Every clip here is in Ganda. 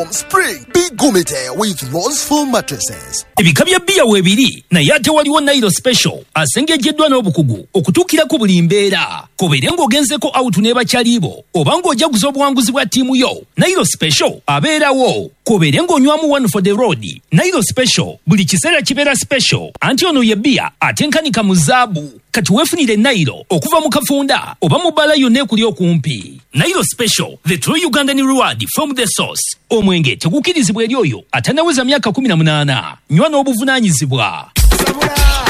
Foam Spring. Be Gumite with Rose Foam mattresses. Ebika bya bbiya weebiri, naye ate waliwo Nairo Special asengejeddwa n'obukugu okutuukira ku buli mbeera. Kobeere ng'ogenzeko out ne bakyalibo oba ng'ojaguza obuwanguzi bwa ttiimu yo, Nairo Special abeerawo. Kobeere ng'onywamu one for the road, Nairo Special buli kiseera kibeera special, anti ono ye bbiya atenkanika mu zaabu. Kati weefunire Nairo okuva mu kafunda oba mu bbaala yonna ekuli okumpi. Nairo Special, the true Ugandan reward from the source. Omwenge tegukkirizibwa eri oyo atannaweza myaka 18. Nywa n'obuvunaanyizibwa.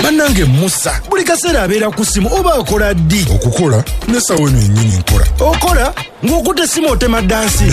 Bannange Musa buli kaseera abeera ku ssimu oba akola ddi? Okukola n'essaawa eno yennyini nkola. Okola ng'okutte essimu otema ddansi.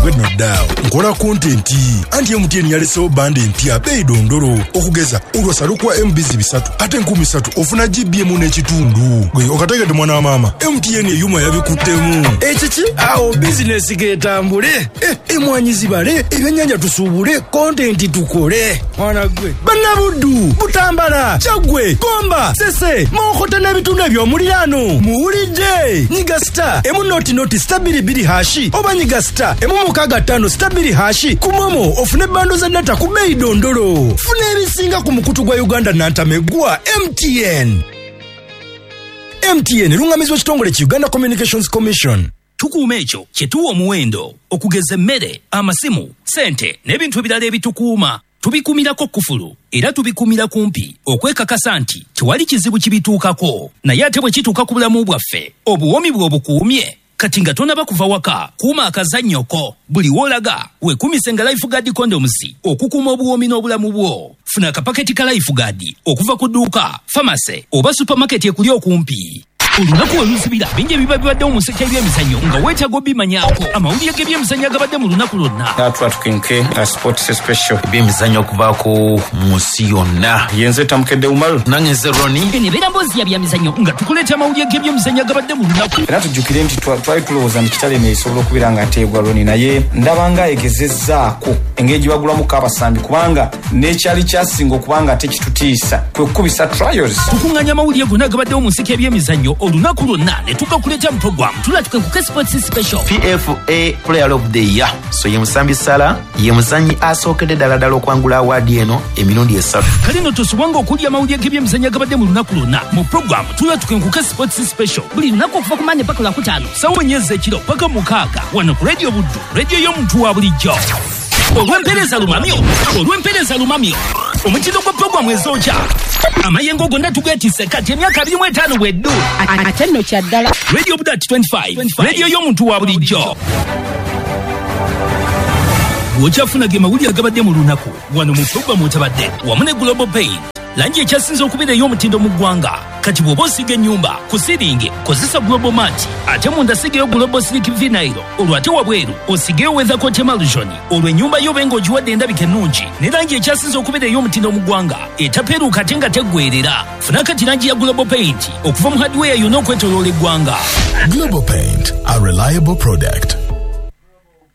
Gwe nno ddaawo nkola kontenti, anti MTN yalesewo banda empya beeyi dondolo. Okugeza olwasa lukuwa MBs 3 ate 3000 ofuna GB n'ekitundu. Gwe okategedde mwana wa maama, MTN eyuma yabikuttemu. Ekiki? Awo bizinesi getambule, emwanyi zibale, ebyennyanja tusuubule, kontenti tukole. Mwana gwe bannabuddu, Butambala, Kyaggwe, Gomba, Sese, Mawokota n'ebitundu eby'omuliraano muwulidde. Nyiga star emu noti noti star 22 hashi oba nyiga star emu 65 star 2 hashi ku momo ofune bando za data ku beeyi dondolo. Funa ebisinga ku mukutu gwa Uganda nantamegwa MTN. MTN erungamizibwa ekitongole ki Uganda Communications Commission. Tukuuma ekyo kye tuwa omuwendo, okugeza emmere, amasimu, ssente n'ebintu ebirala ebitukuuma. Tubikuumirako kufulu era tubikuumira kumpi okwekakasa nti tewali kizibu kibituukako. Naye ate bwe kituuka ku bulamu bwaffe, obuwoomi bwe obukuumye. Kati nga tonaba kuva waka, kuuma akazannyoko. Buli w'olaga weekuumise nga Lifeguard condoms okukuuma obuwoomi n'obulamu bwo. Funa akapaketi ka Lifeguard okuva ku dduuka, famase oba supermarket ekuli okumpi. Olunaku we luzibira, bingi ebiba bibaddewo mu nseke y'ebyemizannyo nga weetaaga obimanyaako. Amawulire g'ebyemizannyo agabadde mu lunaku lwonna. Tukinke sports special. Ebyemizannyo okuvaako mu nsi yonna. Yenze Tamukedde Umaru. Nange nze Ronnie. Eno ebeera mboozi ya byamizannyo nga tukuleeta amawulire g'ebyemizannyo agabadde mu lunaku. Era tujjukire nti twali tulowooza nti Kitale esobola okubeera nga ateegwa Ronnie, naye ndaba nga egezezzaako engeri gye bagulamuko abasambi, kubanga n'ekyali kyasinga okubanga ate kitutiisa kwe kukubisa trials. Tukuŋŋaanya amawulire gonna agabaddewo mu nseke y'ebyemizannyo olunaku lwonna ne tugakuleeta mu program Tulatuke Sports Special. PFA Player of the Year. So ye Musambi Salah ye muzannyi asookedde ddala ddala okwangula awaadi eno emirundi 3. Kale nno tosubwanga okulya amawulire g'ebyemizannyo agabadde mu lunaku lwonna mu program Tulatuke Sports Special buli lunaku okuva ku Mande paka Lwakutaano ssaawa 4 ez'ekiro paka 6 wano ku Radio Buddu, radio y'omuntu wa bulijjo. Olw'empeereza lumamyo, omutindo gwa programu ezokya amayengo gonna tugeetisse kati emyaka 25 bweddu. Ate nno kya ddala. Radio Buddu at 25, radio y'omuntu wa bulijjo. Bw'okyafuna ge mawulire agabadde mu lunaku wano mu programu otabadde wamu ne Global Paint, langi ekyasinze okubeera ey'omutindo mu ggwanga. Kati bw'oba osiiga ennyumba ku siringi kozesa Global Mat, ate munda sigayo Global Silk Vinyl, olwo ate wabweru osigeyo Weathercoat Emulsion, olwo ennyumba yo obe ng'ogiwadde endabika ennungi ne langi ekyasinze okubeera ey'omutindo mu ggwanga etapeeruuka ate nga teggweerera. Funa kati langi ya Global Paint okuva mu hardware yonna okwetooloola eggwanga. Global Paint, a reliable product.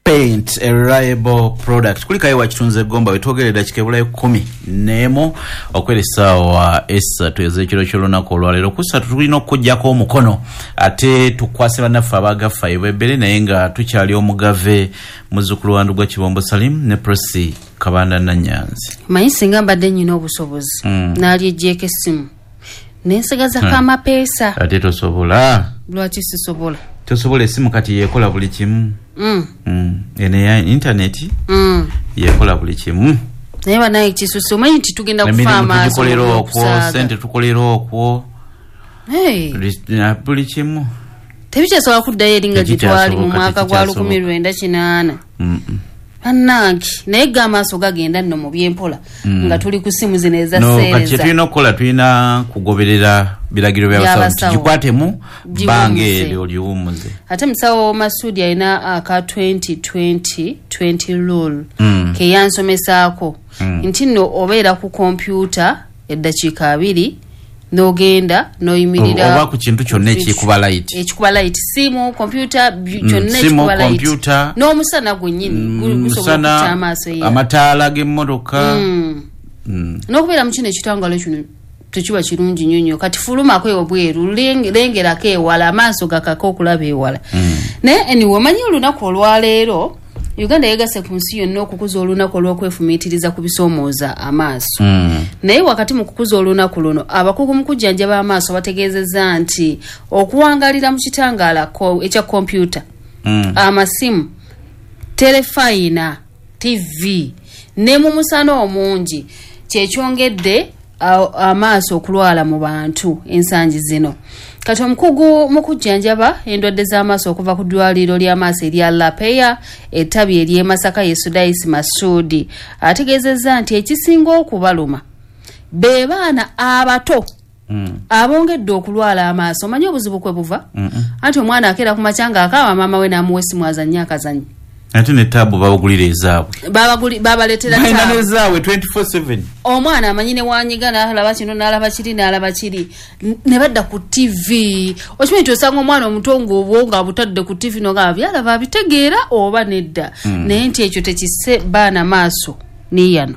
Paint, a reliable product. Kulikayo wakitunze Gomba wetwogerera dakika ebulayo 11 okwera essaawa 3 ez'ekiro ky'olunaku olwaleero. Ku ssatu tulina okuggyako omukono ate tukwase bannaffe abagaffa ebwebbere, naye nga tukyali omugave muzzukulu wa Ndugwa Kibombo Salim ne Prossy Kabanda Nanyanzi. Manyi singa mbadde nnyina obusobozi naalyeggyeko essimu nensigazako amapeesa. Ate tosobola. Lwaki sisobola? Tosobola, essimu kati yeekola buli kimu. Eno ya intaneti yeekola buli kimu. Naye banaye kisusse, omanyi nti tugenda kufa amaaso. Tugikolera okwo, sente tukolera okwo, buli kimu. Tebikyasobola kuddayo eri nga gye twali mu mwaka gwa 1980. Bannange, naye ga amaaso gagenda nno mu byempola nga tuli ku ssimu zino eza seereza. Kati kye tulina okukola, tulina kugoberera biragiro by'abasawo, tugikwatemu bbanga eryo liwummuze. Ate musawo Masudi alina aka 20-20-20 rule ke yansomesaako nti nno obeera ku kompyuta eddakiika 2 n'ogenda n'oyimirira oba ku kintu kyonna ekikuba light, ekikuba light, simu, kompyuta, kyonna ekikuba light, n'omusana gwennyini gusobola okutta amaaso, amataala g'emmotoka, n'okubeera mu kino ekitangalo kino tekiba kirungi nnyo nnyo. Kati fulumako ebweru, lengerako ewala, amaaso gakaka okulaba ewala. Naye anyway, omanyi olunaku olwaleero Uganda yegasse ku nsi yonna okukuza olunaku olw'okwefumiitiriza ku bisoomooza amaaso. Naye wakati mu kukuza olunaku luno, abakugu mu kujjanjaba amaaso bategeezezza nti okuwangalira mu kitangaala ekya kompyuta, amasimu, terefayina, TV ne mu musana omungi kyekyongedde amaaso okulwala mu bantu ensangi zino. Kati omukugu mu kujjanjaba endwadde z'amaaso okuva ku ddwaliro ly'amaaso erya Lapeya ettabi ery'e Masaka ye Sudaisi Masudi ategeezezza nti ekisinga okubaluma be baana abato abongedde okulwala amaaso. Omanyi obuzibu kwe buva? Anti omwana akeera ku makya ng'akaaba, maama we n'amuwa essimu azannye akazannyo. Ate ne taabu babagulira ezaabwe. Babaleetera Balina taabu. N'ezaabwe 24/7. Omwana amanyi ne wanyiga n'alaba kino n'alaba kiri n'alaba kiri, ne badda ku TV. Okimanyi nti osanga omwana omuto ng'obwongo abutadde ku TV nogamba byalaba abitegeera oba nedda. Naye nti ekyo tekisse baana maaso niyano.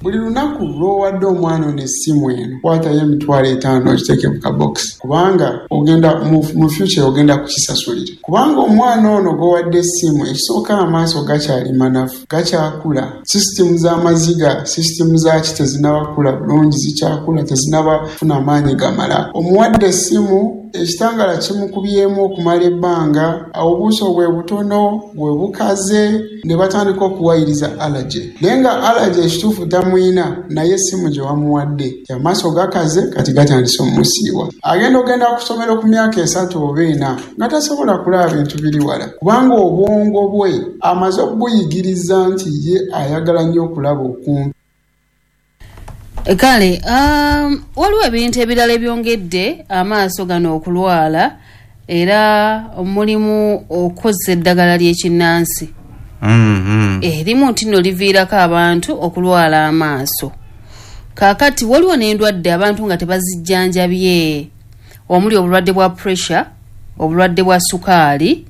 Buli lunaku lw'owadde omwana ono essimu eno, kwatayo 50,000 okiteeke mu kabokisi, kubanga ogenda mu future ogenda kukisasulira, kubanga omwana ono gw'owadde essimu, ekisooka amaaso gakyali manafu, gakyakula, sisitimu z'amaziga, sisitimu zaaki tezinnaba kukula bulungi, zikyakula, tezinnaba kufuna amaanyi gamala. Omuwadde essimu, ekitangala kimukubyemu okumala ebbanga, obuuso bwe butono bwe bukaze, ne batandika okuwayiriza allergy. Naye nga allergy ekituufu tamuyina, naye essimu gye wamuwadde, amaaso gakaze, kati gatandise omusiiwa. Agenda ogenda ku ssomero ku myaka 3 oba 4 nga tasobola kulaba bintu biri wala, kubanga obwongo bwe amaze okubuyigiriza nti ye ayagala nnyo okulaba okumpi. Kale waliwo ebintu ebirala ebyongedde amaaso gano okulwala, era mulimu okukozesa eddagala ly'ekinnansi. Erimu nti nno liviirako abantu okulwala amaaso. Kaakati waliwo n'endwadde abantu nga tebazijjanjabye, omuli obulwadde bwa pressure, obulwadde bwa sukaali,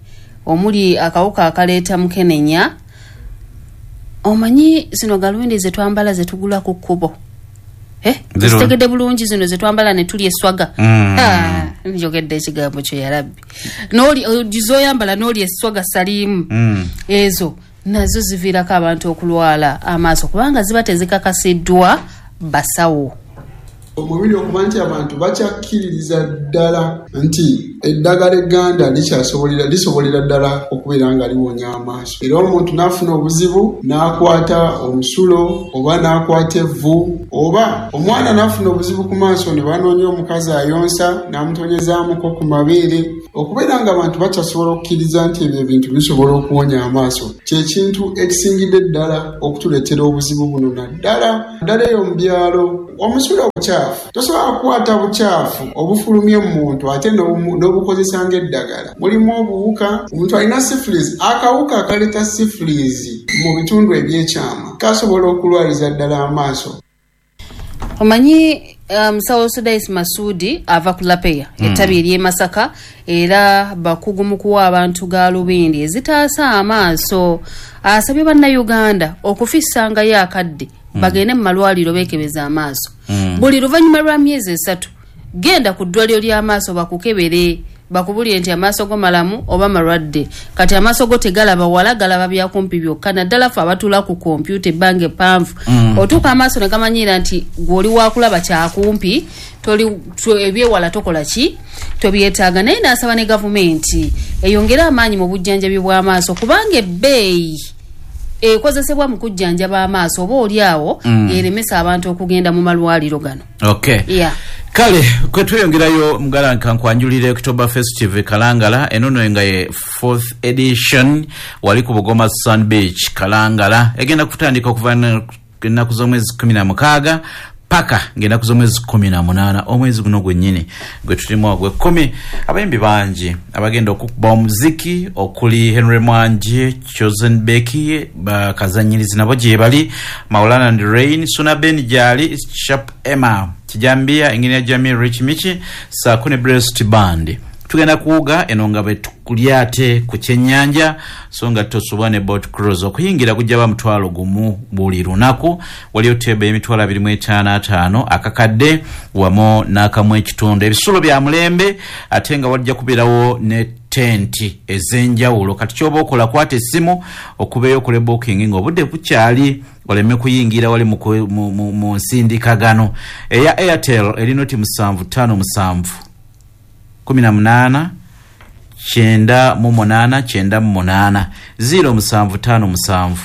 omuli akawuka akaleeta mukenenya. Omanyi zino galundi ze twambala ze tugula ku kkubo? Zitegedde bulungi zino ze twambala ne tulya eswaga. Njogedde ekigambo kyo ya Rabbi. N'oli zoyambala n'olya eswaga salimu. Ezo nazo ziviirako abantu okulwala amaaso kubanga ziba tezikakasiddwa basawo. Omubiri okuba nti abantu bakyakkiririza ddala nti eddagala egganda lisobolera ddala okubeera nga liwonya amaaso. Era omuntu n'afuna obuzibu n'akwata omusulo oba n'akwata evvu, oba omwana n'afuna obuzibu ku maaso ne banoonya omukazi ayonsa n'amutonyezaamuko ku mabeere. Okubeera nga abantu bakyasobola okukkiriza nti ebyo ebintu bisobola okuwonya amaaso kye kintu ekisingidde ddala okutuleetera obuzibu buno, naddala ddala eyo mu byalo. Omusulo bukyafu, tosobola kukwata bukyafu obufulumye mu muntu ate n'obukozesa ng'eddagala. Mulimu obuwuka, omuntu alina syphilis, akawuka akaleeta syphilis mu bitundu ebyekyama kasobola okulwaliza ddala amaaso. Omanyi musawo Sudais Masudi ava ku Lapeya ettabi ery'e Masaka, era bakugu mu kuwa abantu gaalubindi ezitaasa amaaso. Asabye bannayuganda okufissangayo akadde bagende mu malwaliro beekebeza amaaso. Buli luvannyuma lwa myezi 3 genda ku ddwaliro ly'amaaso bakukebere, bakubulire nti amaaso go malamu oba malwadde. Kati amaaso go tegalaba wala, galaba byakumpi byokka, naddala ffe abatuula ku kompyuta ebbanga eppanvu. Otuuka amaaso ne gamanyiira nti gw'oli wakulaba kyakumpi, ebyewala tokola ki, tobyetaaga. Naye n'asaba ne gavumenti eyongere amaanyi mu bujjanjabi bw'amaaso, kubanga ebbeeyi ekozesebwa mu kujjanjaba amaaso oba oli awo eremesa abantu okugenda mu malwaliro gano. Okay. Yeah. Kale kwe tweyongerayo mugala nkankwanjulire October Festive Kalangala, enono nga ye 4th edition wali ku Bugoma Sun Beach Kalangala, egenda kutandika okuva ennaku z'omwezi 16 paka ng'ennaku z'omwezi 18 omwezi guno gwennyini gwe tulimu ogw'ekkumi. Abayimbi bangi abagenda okukuba omuziki okuli Henry Mwanje, Chosen Becky, bakazanyirizi nabo gye bali, Maulana and Rain, Suna Ben gyali, Sharp Emma, Kijambia, Engineer Jamil, Rich Michi, saako ne Breast Band. Tugenda kuwuga eno nga bwe ate ku kyennyanja, so nga tosobwa ne boat cruise. Okuyingira kujja ba 10,000 buli lunaku. Waliyo tebe y'emitwalo 255 akakadde wamu n'akamu ekitundu. Ebisulo bya mulembe, ate nga wajja kubeerawo ne Tenti ez'enjawulo. Kati kyoba okola, kwata essimu okubeeyo okole booking ng'obudde bukyali, oleme kuyingira wali mu nsindikagano. Eya Airtel eri 0 757 18 98 98, 0757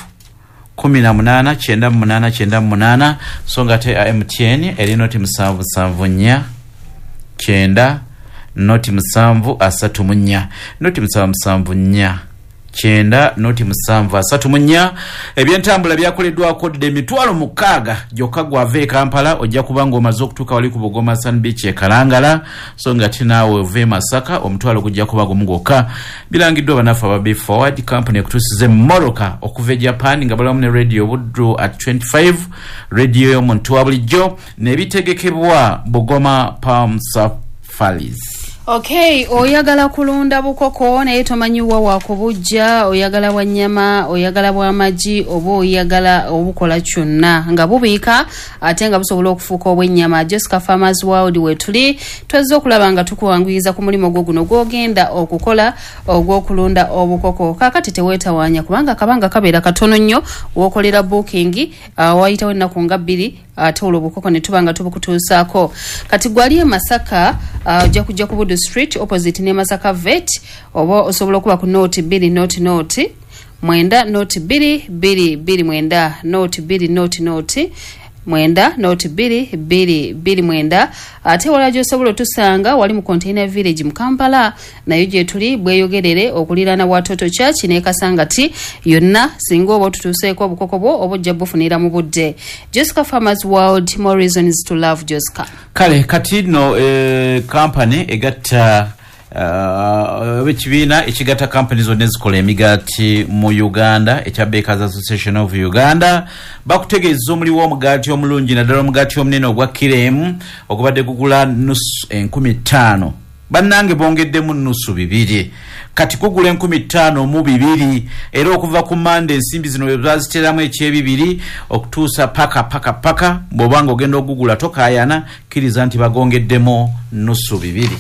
18 98 98. So nga ate MTN eri 0 774 9 0 7 34, 0 774 9 0 7 34. Ebyentambula byakoleddwako dde, 60,000 gyokka. Gwava e Kampala ojja kuba nga omaze okutuuka wali ku Bugoma Sun Beach e Kalangala. So nga tinaawe ova e Masaka, omutwalo gujja kuba gumu gwokka. Birangiddwa bannaffe aba Be Forward Company, ekutuusiza emmotoka okuva e Japan nga balamu ne Radio Buddu at 25, radio y'omuntu wa bulijjo, nebitegekebwa Bugoma Palm Safaris. Okay, oyagala kulunda bukoko naye tomanyi wa wakubujja, oyagala bwa nnyama, oyagala bw'amagi, oba oyagala obukola kyonna nga bubiika ate nga busobola okufuuka obw'ennyama, Jessica Farmers World wetuli. Twazze okulaba nga tukuwanguyiza ku mulimu gwo guno gw'ogenda okukola ogw'okulunda obukoko. Kaakati teweetawaanya, kubanga kabanga kabeera katono nnyo. W'okolera booking, wayitawo ennaku nga 2, ate olwo obukoko ne tuba nga tubukutuusaako. Kati gwali e Masaka, ojja kujja ku Budu Street opposite ne Masaka Vet, oba osobola okuba ku 0 2 0 0 9 0 2 2 2 9, 0 2 0 0 9 0 2 2 2 9. Ate wala gyosobola otusanga wali mu Container Village mu Kampala, nayo gyetuli bweyogerere okuliraana Watoto Church ne Kasangati yonna. Singa oba otutuuseeko, obukoko bwo oba ojja bufunira mu budde. Jessica Farmers World, more reasons to love Jessica. Kale kati nno company egatta ekibiina ekigatta company zonna ezikola emigaati mu Uganda ekya Bakers Association of Uganda bakutegeeza omuli w'omugaati omulungi, naddala omugaati omunene ogwa kiremu ogubadde gugula nusu 5,000. Bannange, bongeddemu nusu bibiri, kati kugula 5,002. Era okuva ku Mande ensimbi zino bwe baziteramu ekyebibiri okutuusa paka paka paka bw'obanga ogenda ogugula, tokaayana, kkiriza nti bagongeddemu nusu bibiri.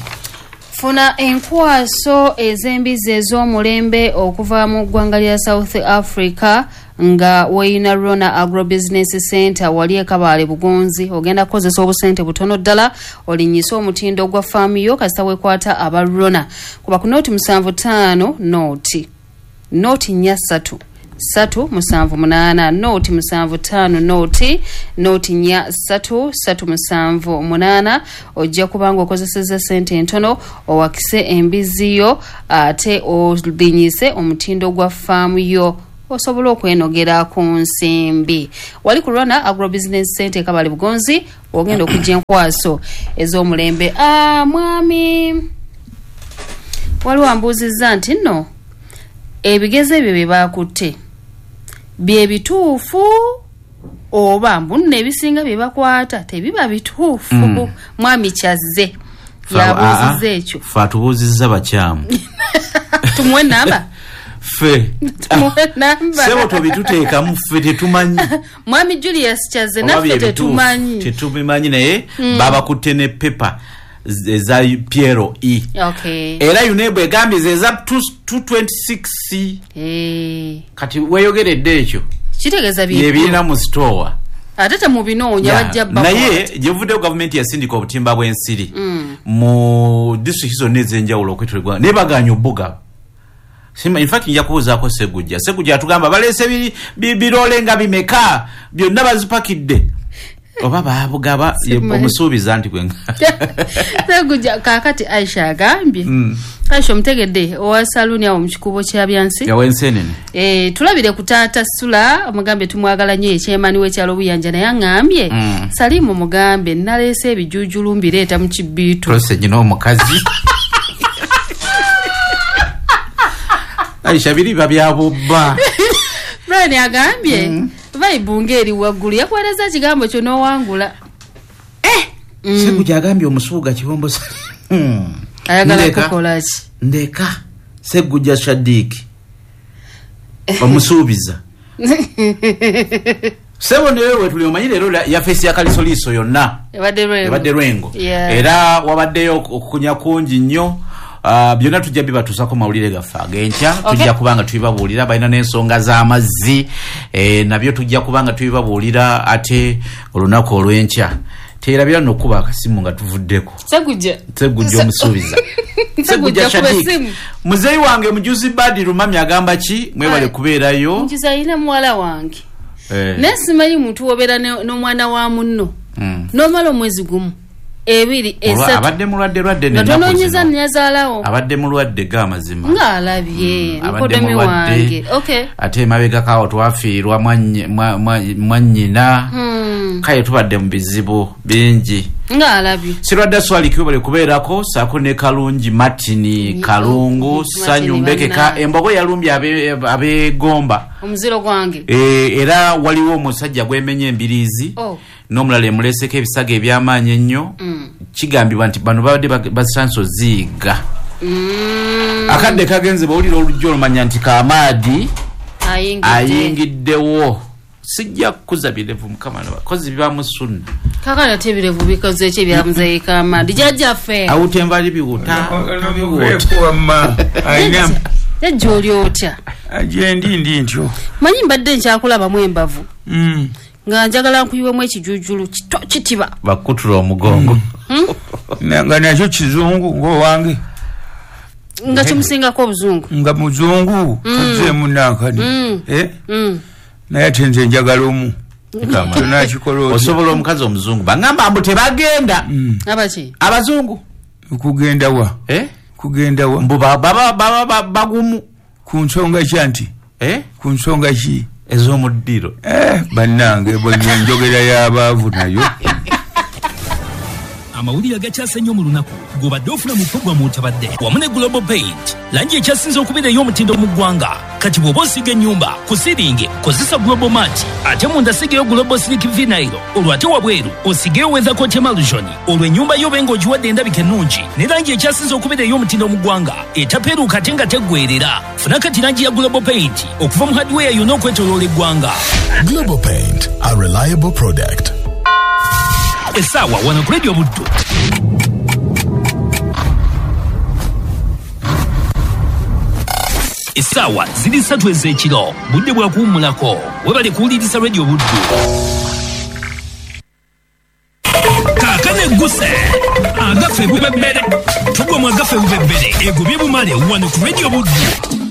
Funa enkwaso ez'embizzi ez'omulembe okuva mu ggwanga lya South Africa nga weyina Rona Agrobusiness Center wali ekabaale Bugonzi. Ogenda kukozesa obusente butono ddala olinyise omutindo gwa faamu yo, kasita wekwata aba Rona. Kuba ku 0 7 5 0 0 4 3 3 7 8, 0 7 5 0 0 4 3 3 7 8. Ojja kubanga okozeseza sente entono owakise embizzi yo ate olinyise omutindo gwa faamu yo, osobola okwenogera ku nsimbi. Wali ku Rona Agrobusiness Center ekabali Bugonzi, ogenda okujja enkwaso ez'omulembe. Mwami waliwo ambuuzizza nti nno ebigezo ebyo bye bakutte bye bituufu oba mbu nno ebisinga bye bakwata tebiba bituufu. Mwami Kyazze yabuuzizza ekyo. Fe atubuuzizza bakyamu. Tumuwe namba? Ffe Tumuwe namba? Sebo, tobituteekamu, ffe tetumanyi. Mwami Julius Kyazze, Oba naffe bye bituufu, tetumanyi. Tetubimanyi, naye babakutte ne pepa eza PLE. Era UNEB egambye zeza 226. Kati weyogeredde ekyo. Kitegeeza bye Byebirina mu store. Ate temubinoonya, bajja Naye gyevuddeyo gavumenti yasindika obutimba bw'ensiri mu disitulikiti zonna ez'enjawulo okwetolwa, naye baganya obugaba. In fact nja kubuuzaako Segujja. Segujja atugamba baleese birole nga bimeka, byonna bazipakidde oba babugaba. Simanyi. Omusuubiza nti gwe Segujja kaakati Aisha agambye. Aisha omutegedde, owa saluuni awo mu kikubo kya Byansi. Yawensenene. Tulabire ku taata Sula, omugambe tumwagala nnyo, ekyemani w'ekyalo Buyanja, naye aŋŋambye Salimu mugambe naleese ebijuujulu mbireeta mu kibiitu. Tose nyina omukazi Aisha biriba byabubba. Brian agambye vibe ng'eri waggulu, yakuweereza ekigambo kyo n'owangula. Segujja agambye omusuuga Kibombo. Ayagala Ndeka. kukola ki? Ndeka Segujja Shadiiki omusuubiza sebo newe wetuli omanyi leero yafeesi ya Kalisoliiso yonna Ebadde Lwengo. Ebadde Lwengo. Yeah. Era wabaddeyo okukunya kungi nnyo. Byonna tujja bibatuusako mawulire gaffe ag'enkya. Tujja kubanga tubibabuulira, balina n'ensonga z'amazzi, nabyo tujja kubanga tubibabuulira ate olunaku olw'enkya. Teerabira nno okuba akasimu nga tuvuddeko. Segujja. Segujja omusuubiza. Segujja kuba essimu. Muzeeyi wange Mujuzi Badi Lumami agamba ki? Mwebale kubeerayo. Njiza alina muwala wange, naye simanyi muntu wobeera n'omwana wa munno n'omala omwezi gumu, ebiri, esatu Abadde mulwadde lwadde nga n'ennaku tonoonyeza zino. Nyazaalawo. Abadde mulwadde g'amazima. Ng'alabye Abadde mukodomi mulwadde. wange, okay. Ate emabegako twafiirwa mwannyina. Kale tubadde mu bizibu bingi. Ng'alabye. Sirwadde Swaliki, webale kubeerako, saako ne Kalungi Martini Kalungu. Martin. Sanyu Mbekeka. Bannange. Embogo yalumbye abegomba. Omuziro gwange. Era waliwo omusajja gwemenya embiriizi Oh. n'omulala emuleseko ebisago eby'amaanyi ennyo. Kigambibwa nti bano babadde basanso ziiga. Akadde kagenze, bawulira olujja olumanya nti Kamaadi ayingidde. Ayingiddewo. Sijja kukuza birevu, mukama kozi bibamu sunna. Kakati ate ebirevu bikoze ki ebyamuzeeyi Kamadi jjajjaffe? Awuta envali, biwuta. Wamma alina. Jjajja, oli otya? Gyendi, ndi ntyo. Manyi mbadde nkyakulabamu embavu nga njagala nkuyiwemu ekijujulu kito kitiba. Bakutula omugongo. Nga nakyo kizungu ngaowange. Nga kimusingako obuzungu. Nga muzungu, tozeemu nankani. Eh? Naye ate nze njagala omu tonakikola otya? Osobola omukazi omuzungu, bagamba mbu tebagenda. Abaki? Abazungu. Kugenda wa? Eh? Kugenda wa? Mbu baba bagumu. Ku nsonga ki anti? Eh? Ku nsonga ki? Ez'omuddiro. Eh, bannange, bwe enjogera y'abaavu nayo. Amawulire agakyase ennyo mu lunaku gobadde ofuna mu puroguramu Otabadde wamu ne Global Paint, langi ekyasinze okubeera ey'omutindo mu ggwanga. Kati bw'oba osiiga ennyumba, ku siringi kozesa Global Mat, ate munda sigeyo Global Silk Vinyl, olwo ate wabweru osigeyo Weathercoat Emulsion, olwo ennyumba yo obe ng'ogiwadde endabika ennungi ne langi ekyasinze okubeera ey'omutindo mu ggwanga, etapeeruuka ate nga teggweerera. Funa kati langi ya Global Paint okuva mu hardware yonna okwetoloola eggwanga. Global Paint, a reliable product. Essaawa wano ku Radio Buddu essaawa ziri 3 ez'ekiro, budde bwa kuwummulako. Webale kuwuliriza Radio Buddu. Kaakano egguse agaffe bubebbere, tugwa mu agaffe bubebbere egobye bumale wano ku Radio Buddu.